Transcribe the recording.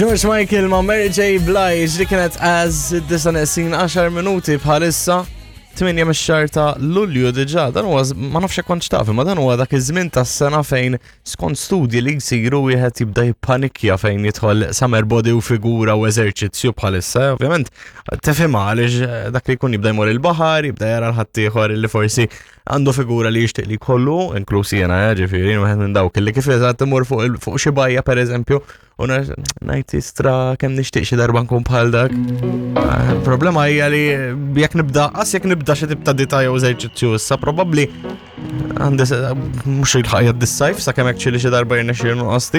George Michael ma' Mary J. Blige li kienet as id-disa neqsin 10 minuti bħalissa 8 mix-xahar ta' Lulju diġà. Dan huwa ma nafx hekk kontx taf, imma dan huwa dak iż-żmien tas-sena fejn skont studji li jsiru wieħed jibda jippanikja fejn jidħol summer body u figura u eżerċizzju bħalissa. Ovvjament tifhimha għaliex eh, dak li jkun jibda jmur il-baħar, jibda jara l-ħaddieħor li forsi għandu figura li jixtieq li jkollu, inkluż jiena, eh, ġifieri, wieħed minn dawk li kif eżatt imur fuq fuq xi bajja pereżempju, u ngħid istra kemm nixtieq xi darba nkun bħal dak. Eh, problema hija li jekk nibda, qas jekk nibda xi tip ta' dita jew eżerċizzju issa probabbli għandi mhux il-ħajja dis-sajf sakemm hekk xi darba jirnexxi nqos.